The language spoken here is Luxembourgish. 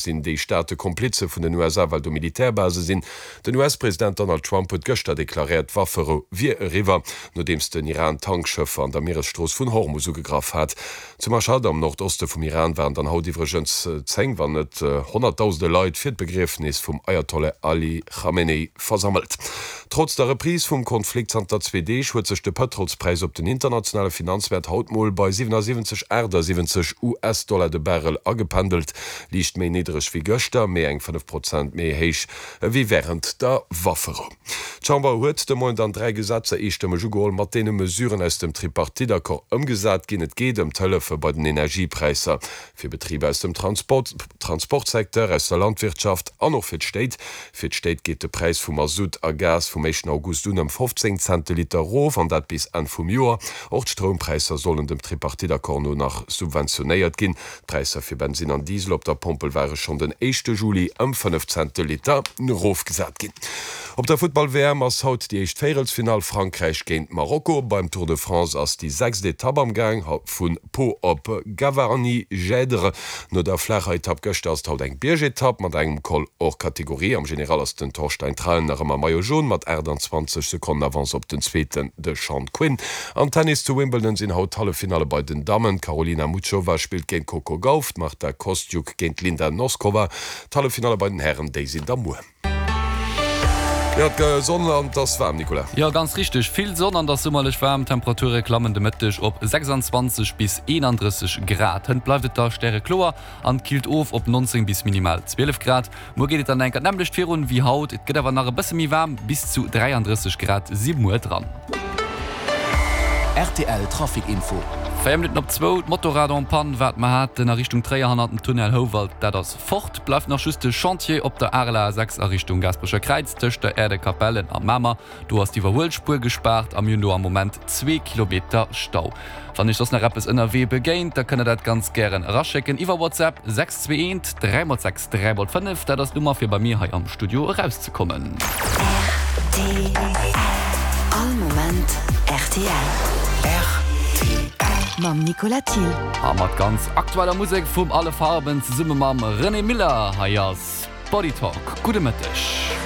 Sinn déi Staate Komplize vun den USA, well do Militärbase sinn? Den US-President Donald Trump huet gëschter deklaréiert, d'Wafferou wier eriwwer, nodeems den Iran Tankschëffer an der Mieresstrooss vun Hormus ugegraff hat. Zu Mashhad am Nordoste vum Iran waren dann haut iwwregens zéng, wann net honnertdausende Leit fir d'Begriefnis vum Ayatollah Ali Khamenei versammelt. Trotz der Reprise vum Konflikt zanter zwee Deeg huet sech de Pëtrolspräis op den internationale Finanzmäert haut mol bei 77, 78 US-Dollar de Barrel agependelt. Liicht méi niddereg wéi gëschter, mee eng 5 Prozent méi héich ewéi wärend der Wafferou. D'Chamber huet de Moien dann 3 Gesetzer eestëmmeg ugeholl, mat deene Mesuren aus dem Tripartite-Accord ëmgesat ginn. Et geet ëm d'Hëllefe bei den Energiepräisser fir Betriber aus dem Transportsecteur, aus der Landwirtschaft an och fir d'Stéit. Fir d'Stéit geet de Präis vu Masutt a Gas vum éischten August un ëm 15 Cent de Liter erof, an dat bis Enn vum Joer. Och d'Stroumpräisser sollen dem Tripartite-Accord no nach subventionéiert ginn. D'Präisser fir Bensinn an Diesel op der Pompel ware schonn den éischte Juli ëm 5 Cent de Liter erofgesat ginn. Op der Futtball-WM ass haut déi éischt Véierelsfinall, Frankräich géint Marokko. Beim Tour de France ass déi sechst Etapp am Gaang, vu Pau op Gavarnie-Gèdre. No der flaacher Etapp gëschter ass et haut eng Biergetapp mat engem Col hors catégorie. Am General ass den Torstein Traen nach ëmmer Maillot Jaune mat 28 Sekonnen Avance op den Zweeten, de Sean Quinn. Am Tennis zu Wimbledon sinn haut d'Halleffinalle bei den Dammen. D'Karolina Muchova spillt géint d'Coco Gauff, d'Marta Kostyuk géint d'Linda Noskova. D'Halleffinalle bei den Hären, déi sinn da muer. Jo, et gëtt Sonn an et ass waarm, Nicolas. Jo, ganz richteg, vill Sonn an et ass summerlech waarm. D'Temperature klammen de Mëtteg op 26 bis 31 Grad. Hënt bleift et da stärekloer an et killt of op 19 bis minimal 12 Grad. Muer geet et dann enker d'nämmlecht virun wéi haut, et gëtt awer nach e bësse méi waarm, bis zu 33 Grad si muer dran. Rtl Trafic Info. 4 Minutten op zwou, d'Motorrad en panne wat mer haten a Richtung Tréier hannert dem Tunnel Houwald, dat ass fort. Bleift nach just de Chantier op der Areler A6 a Richtung Gaasperecher Kräiz tëscht der Aire de Capellen a Mamer. Do ass d'Iwwerhuelspuer gespaart a mir hunn do am Moment zwee Kilometer Stau. Wann Iech soss nach eppes ënnerwee begéint, da kënnt der dat ganz gären eraschécken iwwer WhatsApp 621 3 x 6 3 x 5. Dat ass d'Nummer fir bei mir hei am Studio erauszekommen. Rtl, All Moment rtl. Rtl. Mam Nicolas Thill. A mat ganz aktueller Musek vum Alle Farben zesumme mam René Miller. Hei ass Body Talk. Gudde Mëtteg.